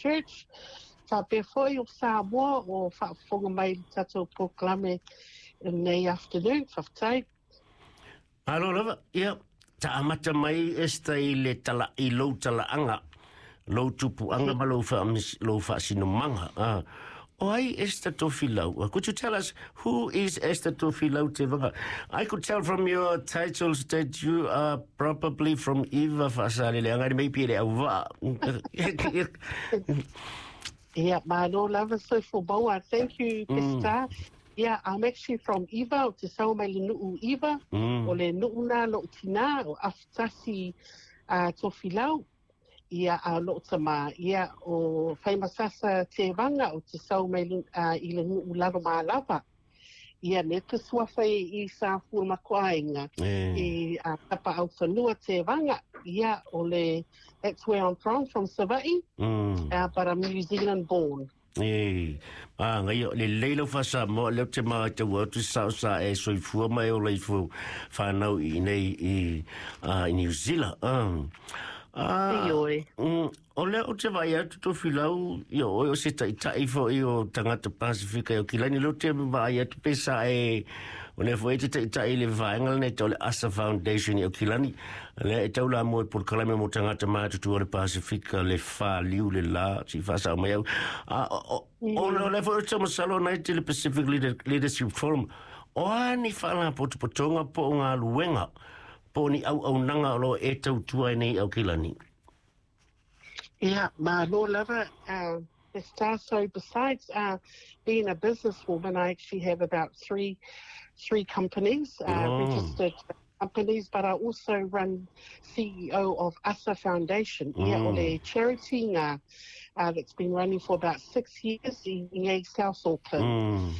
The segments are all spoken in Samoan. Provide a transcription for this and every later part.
Church. Faapea foi o Samoa o faafofoga mai i le tatou polokalame i lenei afternoon. Faafetai. Malo lava, ia, taamata mai Esther i le tala, i lou talaaga, lou tupuaga ma lou, lou faasinomaga. Ah. O ai Esther Tofilau? Could you tell us who is Esther Tofilau Tevaga? I could tell from your titles that you are probably from Iva Faasaleleaga, maybe le auvaa. Yeah, malo lava soifua maua. Thank you, Pesita. Yeah, I'm actually from Iva, o te sau mai le nuu Iva. O le nuu na lou tina, o Afutasi Tofilau. Ia a lou tama, ia o Faimasasa Tevaga o te sau mai i le nuu Lalomalava. Ia ne te suafa i sa fua makuainga i tapa au whanua Tevaga. Ia o le, that's where I'm from Savaii, but I'm New Zealand born. E, a ngai le leila fasa mo le te ma te wa tu sa sa e soifua mai o leifo whanau i nei i i New Zealand. Ioe. O le o te vai atu Tofilau, ia o o se taitai foi o tagata Pasifika o Kilani lo te vai atu pesa e o le foi te taitai le vaenga le tau le Asa Foundation i Kilani le e tau la mo por kalame mo tagata matutua o le Pasifika le whaliu le la si whasa mai au. A o le foi o te masalo nei te le Pacific Leadership Forum o ani whala potopotonga po o ngā luenga po ni au au nanga o lo e tau tua nei au Kilani. Yeah, malo lava. Star. So besides being a businesswoman, I actually have about three companies, registered companies, but I also run CEO of ASA Foundation. Yeah, o le charity nga, that's been running for about 6 years in South Auckland.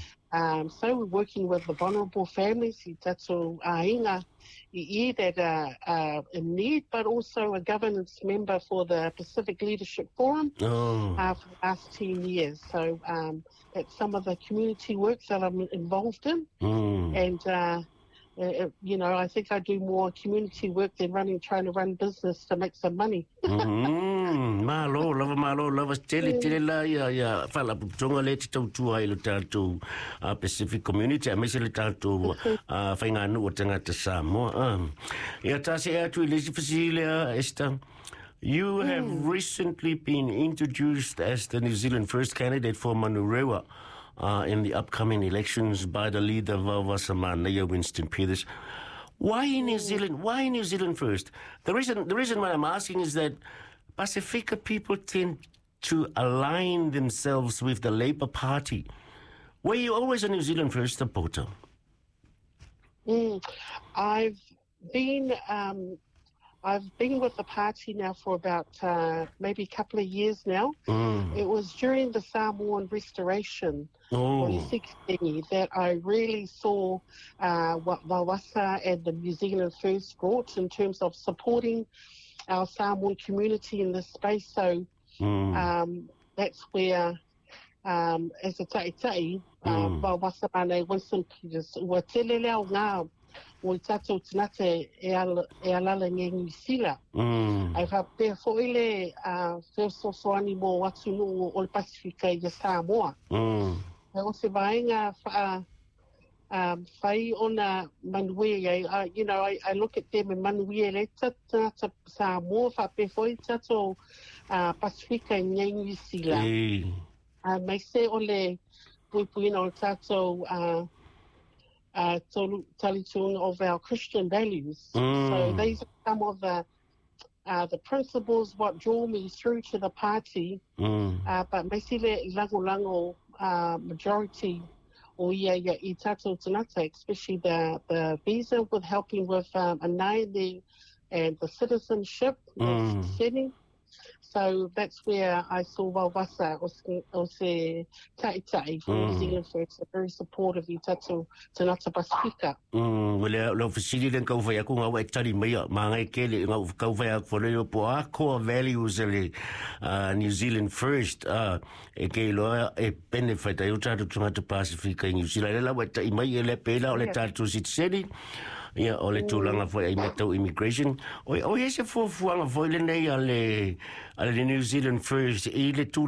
So we're working with the vulnerable families, i tatou aiga i that are in need, but also a governance member for the Pacific Leadership Forum for the last 10 years. So that's some of the community work that I'm involved in. And I think I do more community work than trying to run business to make some money. Malo lava, malo lava, tele tele la ia ia faalapotopotoga le te tautua i le tatou Pacific Community aemaise le tatou faiganuu o tagata Samoa. Ia tasi e atu i le isi fesili lea, Esther. You have recently been introduced as the New Zealand First candidate for Manurewa in the upcoming elections by the leader Vaovasamanaia Winston Peters. Why New Zealand? Why New Zealand First? The reason why I'm asking is that Pasifika people tend to align themselves with the Labour Party. Were you always a New Zealand First supporter? I've been with the party now for about maybe a couple of years now. It was during the Samoan Restoration o le 16 that I really saw what Vaovasa and the New Zealand First brought in terms of supporting our Samoan community in this space. So that's where, as a ta'itai, Vaovasa Mane Winston Peters, ua tele lea o ngā o i tatou tagata e, ala, e alala nge New Zealand. Ai whapea fo ile fesoasoani mo atunuu o le Pasifika i Samoa. E o se vaenga wha whai ona manuia ai, I look at them e manuia le tata Samoa whapea fo i tatou Pasifika i New Zealand. Mai se o le puipuina o tatou talitunga of our Christian values. So these are some of the principles what draw me through to the party. But me si le lango lango majority o ia ia i tatou tagata, especially the visa with helping with the and the citizenship setting. So that's where I saw Vaovasa o se ta'itai for New Zealand First, very supportive i tatou tagata Pasifika. Le le fesili le kau fai aku ngau e tali mai ma ngai ke le ngau kau fai aku fo le po a core values le New Zealand First e ke lo e benefit ai o tatou tagata Pasifika i New Zealand le la wa tai mai e le pela o le tatou citizen ia o le tulaga foi ai tau immigration o e se fuafuaga foi lenei a le New Zealand First i le tulaga.